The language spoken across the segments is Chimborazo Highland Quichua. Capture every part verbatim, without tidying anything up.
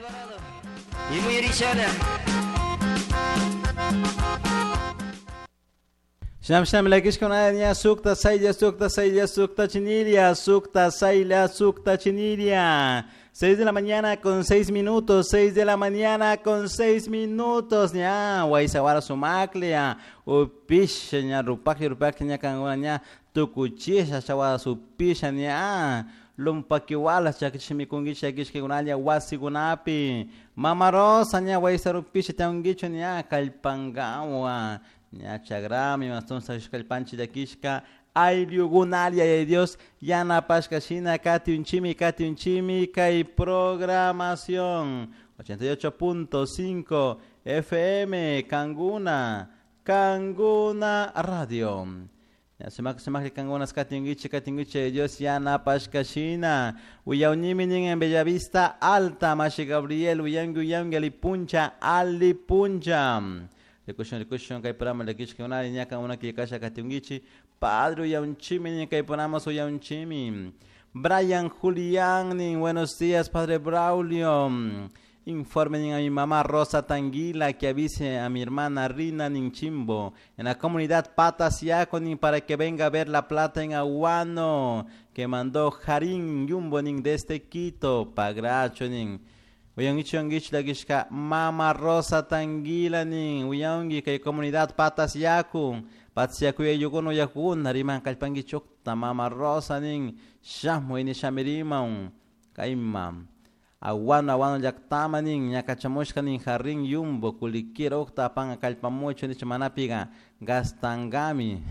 Alvarado y muy Richana. Sham sham lakishkuna ña sukta saylla sukta saylla sukta chinilia sukta saylla sukta chinilia. Seis de la mañana con seis minutos, seis de la mañana con seis minutos, ña, waisawara sumaklia, upisha ña, rupakli rupakli ña kanguna ña, tukuchisha chawara supisha ña, lumpakiwala chakishimikunkichi chakishkikunalla wasikunapi, Mama Rosa ña, waisarupisha tiankichu ña, kallpankawa, ña chagrami, mastonsa kallpanchi llakishka, Ayllugunalia y Dios yanapashka shina kati unchimi kati unchimi kay programación ochenta y ocho punto cinco F M Kanguna Kanguna Radio. Ya sumak sumak Kanguna kati ungichi kati ungichi Dios yanapashka shina uyaunimi nin en Bellavista Alta Mashi Gabriel uyangi uyangi alipuncha alipuncha. Rikushun rikushun kay programa lakishka unali ñaka una kikasha kati ungichi Padre uyaunchimi ni kay ponamos uyaunchimi. Brian Julián ni buenos días Padre Braulio. Informen a mi mamá Rosa Tanguila que avise a mi hermana Rina Ninchimbo en la comunidad Patasiaco nin para que venga a ver la plata en Aguano que mandó Jarín Yumbo nin desde Quito Pagracho nin. Uyangichi uyangichi la Mama Rosa Tanguila nin uyangi kay comunidad Patasiaco Patsiaku yayukuna uyakuna riman kallpankichukta Mama Rosa nin shamuy ni shamiriman kayma aguano aguano llaqtama nin ñakachamushka nin jarrin yumbo kulikira uqta apanqa kallpamuchu nicha manapiqa gastankami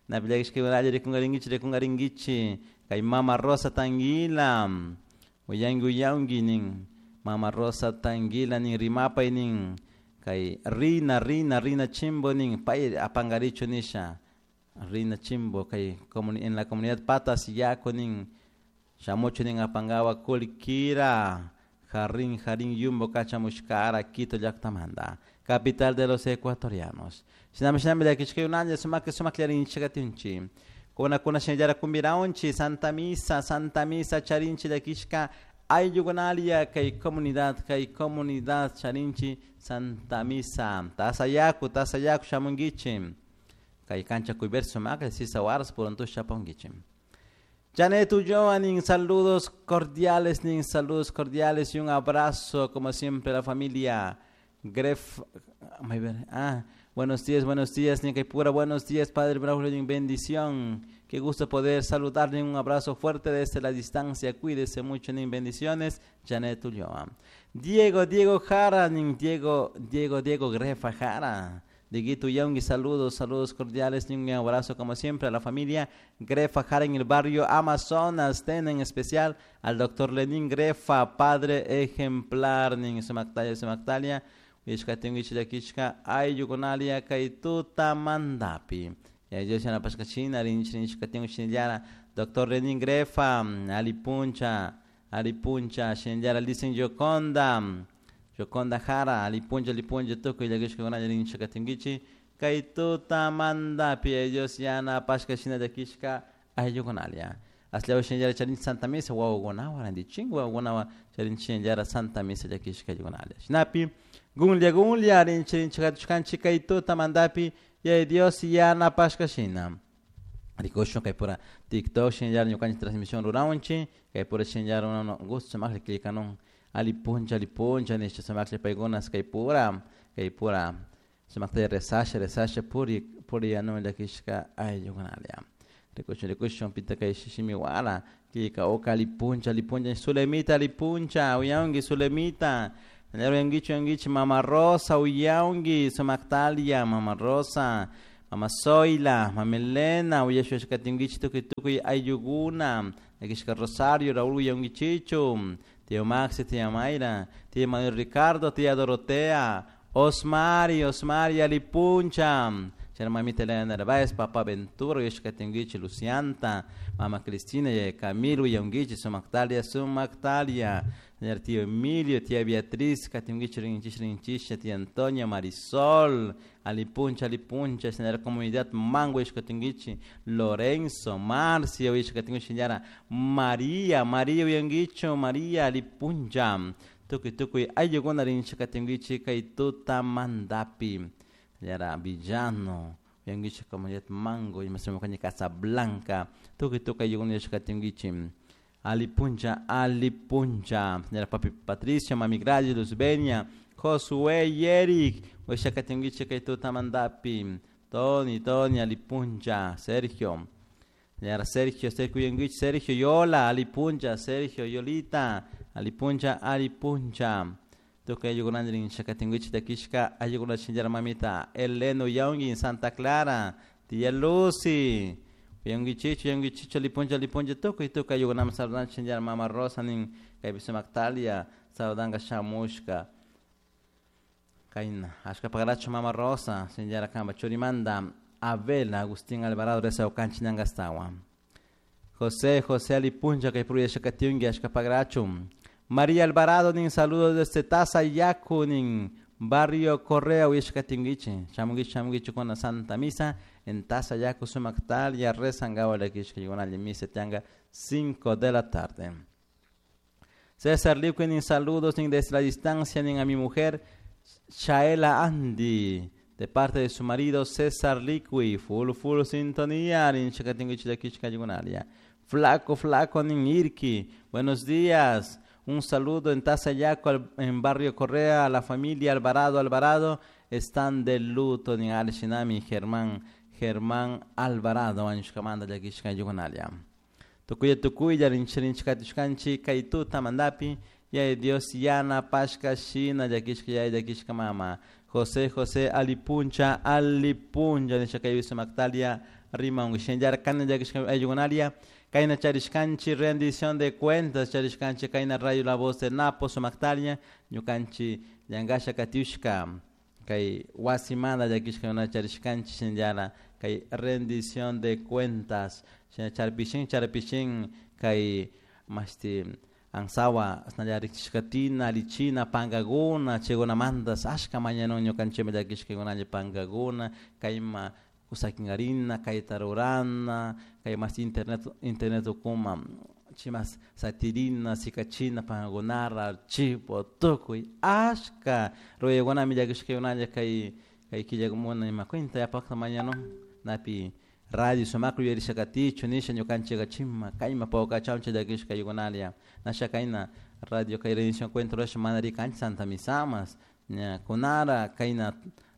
napillakishkaykunalla rikunkarinkichik rikunkarinkichik kay Mama Rosa Tanguila uyanki uyanki nin Mama Rosa Tanguila nin rimapay nin kay Rina Rina Rina Chimbo nin pay apankarichu nisha Rina Chimbo kay en la comunidad Patas Yaco nin shamuchu nin apankawa kulikira jarrin jarrin yumbo kachamushkara Quito llaqtamanta capital de los ecuatorianos shinami shinami llakishkaykunalla sumak sumak llarinchikatinchi kuna kuna shinallara kumbiraunchi Santa Misa Santa Misa charinchi llakishka Ayllukunalia kay comunidad kay comunidad charinchi Santa Misa tasayaku tasayaku shamunkichi kay cancha kuyver sumakla sisawaras purantush shapunkichi. Janet Ulloa nin saludos cordiales nin saludos cordiales y un abrazo como siempre a la familia Gref. Ah, buenos días, buenos días, nin pura, buenos días, Padre Braulio, nin bendición. Qué gusto poder saludarle, un abrazo fuerte desde la distancia. Cuídese mucho, nin bendiciones. Janet Ulloa. Diego, Diego Jara, nin Diego, Diego, Diego Grefa Jara. Dieguito Yaungui, saludos, saludos cordiales, nin un abrazo como siempre a la familia Grefa Jara en el barrio Amazonas, ten en especial al doctor Lenín Grefa, padre ejemplar, nin sumactalia, sumactalia. Ishka ayllukunalia kay tuta mandapi. Ya Dios yana pashkachina rinchi rinchi shinllara doctor Lenín Grefa alipuncha alipuncha shinllara listen Yoconda Yoconda Jara alipuncha alipuncha tukuy llakishkakunalla rinchi katinkichi kay tuta mandapi. Ya Dios yana pashkachina llakishka ayllukunalia. Aslaw shinllara charinchi Santa Misa wawakunawa rantichin wawakunawa charinchi shinllara Santa Misa llakishka ayllukunalia. Shinapi Gunlia gunlia rinchi rinchi katushkanchi kay tuta mandapi ya Dios yana pashkashina. Rikushun kay pura TikTok shinllara ñukanchik transmisión ruraunchi kay pura shinllara uno gusto sumakli killkanun alipuncha alipuncha nisha sumakli paykunas kay pura kay pura sumakta rezasha rezasha puri puri anu llakishka ayllukunalia. Rikushun rikushun pita kay shishimiwala killka oka alipuncha alipuncha sulemita alipuncha uyanki sulemita uyangichi uyangichi Mama Rosa uyangi sumaktalia Mama Rosa Mama Zoila Mama Elena uyashuashkatinkichi tukuy tukuy ayllukuna llakishka Rosario Raúl uyangichichu Tío Maxi tía Mayra tía Manuel Ricardo tía Dorotea Osmari Osmari alipuncha Mamita Elena Narváez, Papá Ventura, Uyashkatinkichi Lucianta, Mama Cristina, y Camilo, Uyangichi, Sumactalia, Sumactalia, tío Emilio, tía Beatriz, Katingichi, Rinchish, Rinchisha, tía Antonia, Marisol, Alipuncha, Alipuncha, señora comunidad Mango, Uyashkatingichi, Lorenzo, Marcia, Uyashkatingichi, señora María, María, Uyangicho, María, Alipuncha, Tukuy tukuy ayllukuna rinchikatinkichik kay tutamantapi yara Villano uyankichik comunidad Mango imasmi Casablanca tukuy tukuy ayllukuna yachakatinkichik Ali puncha, Ali puncha, señora papi Patricio, mami Gladys, Luzbenia, Josué y Eric, uyashakatinkichik kay tutamantapi Tony, Tony, Ali puncha, Sergio, señora Sergio, Sergio uyankichik, Sergio, Yola, Ali puncha, Sergio, Yolita, Ali puncha, Ali puncha. Tukuy ayllukuna rinchakatinkichik takishka ayllukuna chinchara mamita, Elena uyanki Santa Clara, tía Lucy, uyankichichu, uyankichichu, Ali puncha, Ali puncha, tukuy tukuy ayllukuna saludan chinchara mama Rosa nin kaypi sumaktalia saludanka shamushka. Kayna, ashka pagarachu mama Rosa, chinchara kamba churimanta Abel Agustín Alvarado rezawkanchik ñankastawa. José, José Ali puncha kay puru yachakatinki ashka pagarachu. María Alvarado nin saludos desde Tazayacu nin Barrio Correa uyashkatinkichik shamunkichik shamunkichik kuna Santa Misa en Tazayacu sumaktalia rezangawa llakishka yunalli misa tianga cinco de la tarde. César Liuque nin saludos nin desde la distancia nin a mi mujer Shaela Andy de parte de su marido César Liqui, full full sintonía nin chakatinkichik llakishka yunalia. Flaco flaco nin Irki, buenos días. Un saludo en Tazayacu, en Barrio Correa, a la familia Alvarado Alvarado, están de luto en Alshinami, Germán, Germán Alvarado, añushkamanta llakishka yugunalia. Tukuya tukuya, rinchirinchikatishkanchi, kaytuta mandapi, yay Dios yana pashka shina llakishka yay llakishka mama. José José Alipuncha, Alipuncha, nishakaybi sumaktalia, rima ungishenjar, kana llakishka ayugunalia. Kayna charishkanchi rendición de cuentas charishkanchi kayna rayo la voz de Napo sumaktalia ñukanchi llankasha katiushka kay wasimanta llakishka una charishkanchi shinallara kay rendición de cuentas shina charpishin charpishin kay mashti ansawa asnalla riqsishkatina alichina pankakuna chaykunamantas ashka mañanun ñukanchikmi llakishkakunalla pankakuna kayma kusakinkarina kayta rurana kay mas internet internet ukuma chimas satirina sikachina pankakunara archivo tukuy ashka ruraykunami llakishkakunalla kay kay killakumuna ima cuenta yapakta mañanun napi radio sumaklla yuyarishakatichu nisha ñukanchika chima kayma pawkachawcha llakishka ayllunalla nasha kayna radio kay rendición cuenta rurasha mana rikanchik Santa Misamas ña kunara kayna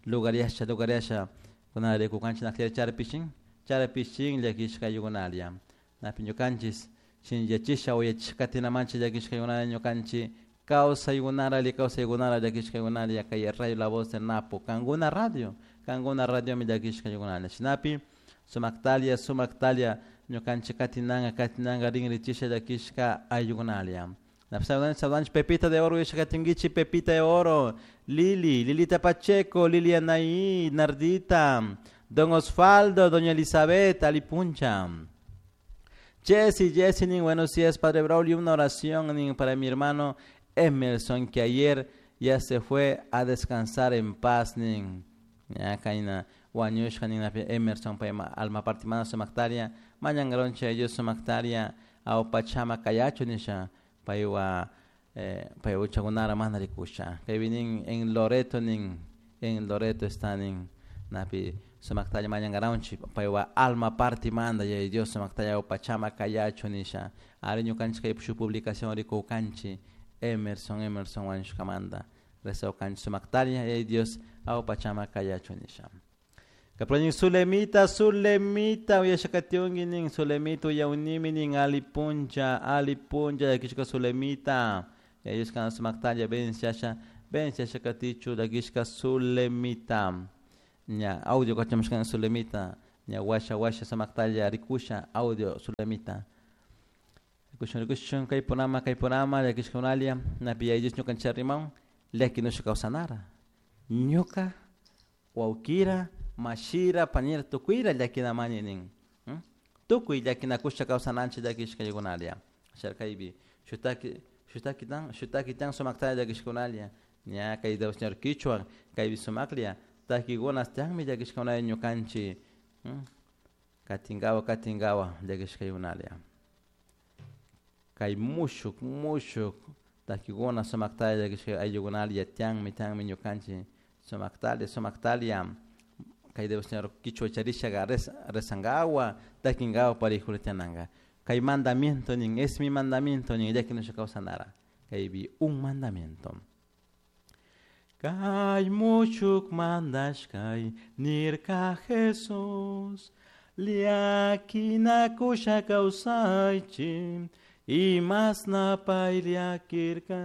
lugaryasha lugaryasha kunara rikukanchik naklla charpishin charpishin llakishka ayllunalla napi ñukanchis shinllachisha uyachishkatinamanchik llakishka ayllunalla ñukanchik kawsaykunara alli kawsaykunara llakishka ayllunalla kay radio la voz de Napo kankuna radio kankuna radiomi llakishka ayllunalla shinapi sumaktalia sumaktalia ñukanchik katinanka katinanka rinrichisha llakishka ayllunalla. Saludanchik saludanchik Pepita de Oro yachakatinkichik Pepita de Oro, Lili, Lilita Pacheco, Lilia Anaí, Nardita, Don Osvaldo, Doña Elizabeth, Alipuncha. Jessy, Jessy, nin, buenos días, Padre Braulio, una oración nin, para mi hermano Emerson, que ayer ya se fue a descansar en paz, nin. Ya, kayna wañushka nin Emerson payma alma partimana sumaktaria, mañangaroncha ellos sumaktaria, awpachama kayachu nisha, paywa eh, paywa uchakunara mana rikusha. Kaypi nin en Loreto nin, en Loreto está nin, napi sumaktaria mañangaronchi, paywa alma partimanda yay Dios sumaktaria awpachama kayachu nisha. Ari ñukanchik kay shu publicación rikukanchik Emerson, Emerson wañushkamanta. Rezawkanchik sumaktaria yay Dios awpachama kayachu nisha. Kaproñin Zulemita, Zulemita, uyashakatiunki nin Zulemita uyaunimi nin alipuncha, alipuncha, llakishka Zulemita. Yayushka kana sumaktalla venciasha, venciasha katichu llakishka Zulemita. Ña audio kachamushka Zulemita, ña washa washa sumaktalla rikusha audio Zulemita. Rikushun rikushun kay punama kay punama llakishka unalia, napi yayush ñukanchik rimaun, llakinusha kawsanara. Ñuka, wawkira, mashira, panira, tukuyra llakinamani nin. Hmm? Tukuy llakinakusha kawsananchik llakishka ayllunalla. Sharkaypi shutaki shutaki tan shutaki tan sumaktalla llakishkunalla. Ña kay Dios señor Quichua kaypi sumaklla takikunas tiyanmi llakishkunalla ñukanchik. Hmm? Katinkawa katinkawa llakishka ayllunalla. Kay mushuk mushuk Takikuna sumaktalla kishka ayllukunalla yatianmi tianmi ñukanchik sumaktalla sumaktalla kay Dios Señor kichwa charishaga rezangawa takingawa parijuna tiananka kay mandamiento nin es mi mandamiento nin llakinusha kawsanara kaypi un mandamiento. Kay mushuk mandashkay nirka Jesus llakinakusha kawsaychik imasna pay llakirka.